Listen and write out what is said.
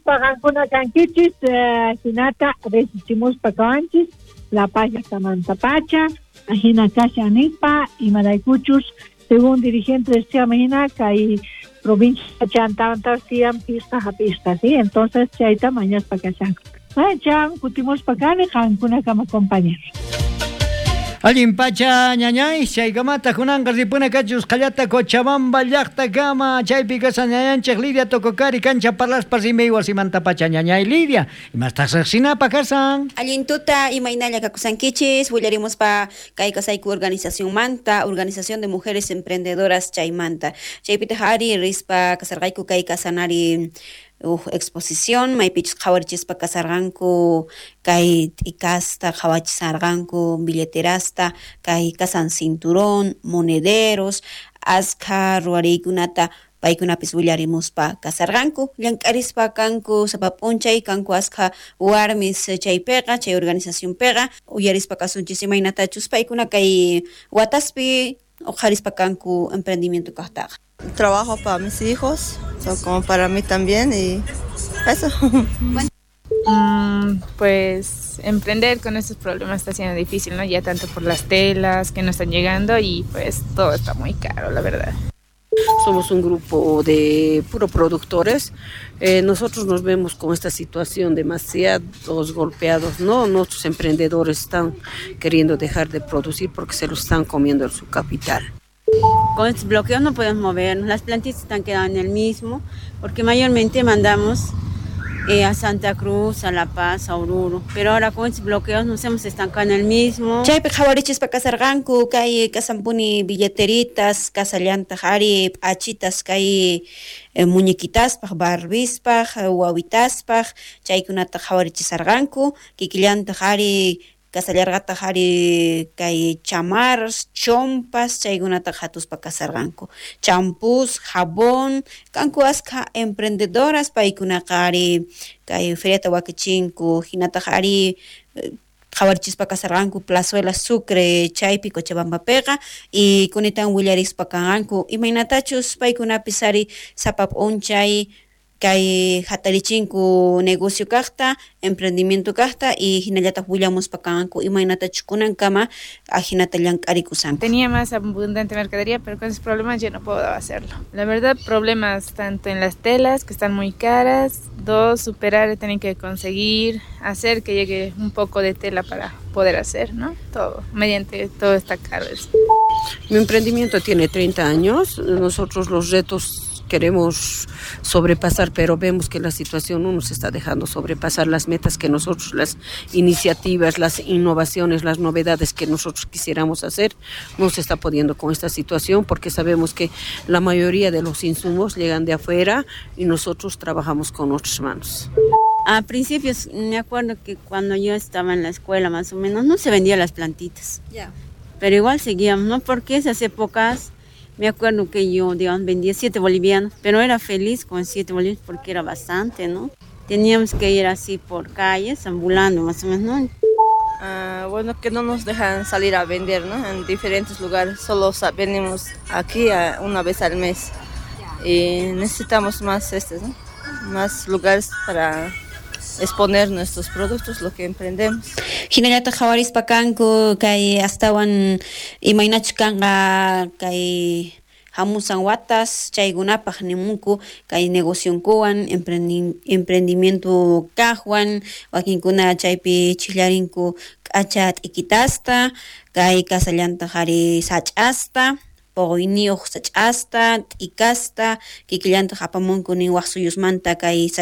Nispa qankuna kankichis, hinata resichimuspa kawanchis La Paz llaqtamantapacha, ajina kashan nispa, imaraykuchus según dirigente decía hina kay provincia chantamantapas tiyan pisqa hap'isqa, ¿sí? Entonces chayta mañaspa kashanku. Chan kutimuspa kani qankunakama compañeros. Allin pacha ñañay, chaykamata kunanqa ripuna kachus qallata Cochabamba llaqtakama, chaypi kashan ñañanchik Lidia Tococari kancha parlaspa rimay wasimanta pacha ñañay Lidia, imastaq riqsinapa kasan? Allin tuta imaynalla kakusankichis, willarimuspa kay kasayku organizacionmanta, Organización de Mujeres Emprendedoras chaymanta. Chaypitaq ari rispa kasarqayku kay kasanari uj exposición maypichus qhawarichispa kasarqanku kay t'ikasta qhawachisarqanku billeterasta kay kasan cinturón monederos askha ruwariykunata paykunapis willarimuspa kasarqanku llank'arispa kanku sapa p'unchay kanku askha warmis chaypiqa chay organizacionpiqa uyarispa kasunchis imaynatachus paykuna kay wataspi uqharispa kanku emprendimiento kaqtaqa. Trabajo para mis hijos, como para mí también y eso. Pues emprender con estos problemas está siendo difícil, ¿no? Ya tanto por las telas que no están llegando y pues todo está muy caro, la verdad. Somos un grupo de puro productores. Nosotros nos vemos con esta situación demasiados golpeados, ¿no? Nuestros emprendedores están queriendo dejar de producir porque se lo están comiendo en su capital. Con estos bloqueos no podemos movernos, las plantitas están quedando en el mismo, porque mayormente mandamos a Santa Cruz, a La Paz, a Oruro, pero ahora con estos bloqueos nos hemos estancado en el mismo. Chaypi qhawarichispa kasarqanku kay kasanpuni billeteritas, kasallantaq ari p'achitas kay muñequitaspaj, barbispaj, wawitaspaj, chaykunata qhawarichisarqanku, kikillantaq ari kasallarqataq ari kay chamarras, chompas, chaykunata hatuspa kasarqanku. Champús, jabón, kanku askha emprendedoras paykunaqa ari kay feriata wakichinku, hinataq ari qhawarichispa kasarqanku Plazuela Sucre chaypi Cochabambapiqa y kunitan willarispa kanqanku imaynatachus paykunapis ari sapa p'unchay kay hatarichinku negocio kaqta, emprendimiento kaqta y hinallataq willamuspa kanqanku imaynatachus kunankama ajinata llank'arikusanku. Tenía más abundante mercadería, pero con esos problemas ya no puedo hacerlo. La verdad, problemas tanto en las telas, que están muy caras, dos, superar, tener que conseguir, hacer que llegue un poco de tela para poder hacer, ¿no? Todo, mediante todo está caro. Mi emprendimiento tiene 30 años, nosotros los retos queremos sobrepasar, pero vemos que la situación no nos está dejando sobrepasar las metas que nosotros, las iniciativas, las innovaciones, las novedades que nosotros quisiéramos hacer, no se está pudiendo con esta situación porque sabemos que la mayoría de los insumos llegan de afuera y nosotros trabajamos con nuestras manos. A principios, me acuerdo que cuando yo estaba en la escuela más o menos, no se vendían las plantitas. Yeah. Pero igual seguíamos, ¿no? Porque esas épocas, me acuerdo que yo, digamos, vendía 7 bolivianos, pero era feliz con 7 bolivianos porque era bastante, ¿no? Teníamos que ir así por calles, ambulando más o menos, ¿no? Bueno, que no nos dejan salir a vender, ¿no? En diferentes lugares, solo venimos aquí una vez al mes. Y necesitamos más, ¿no? Más lugares para exponer nuestros productos, lo que emprendemos. Hinallataq qhawarispa kanku kay astawan imaynachus kanqa kay hamusan watas chaykunapaq nimunku kay negocionkuwan emprendimiento kaqwan wakinkuna chaypi chillarinku k'acha t'ikitasta kay kasallantaq ari sach'asta poqoyniyuq sach'asta t'ikasta kikillantaq apamunku nin waq suyusmanta kay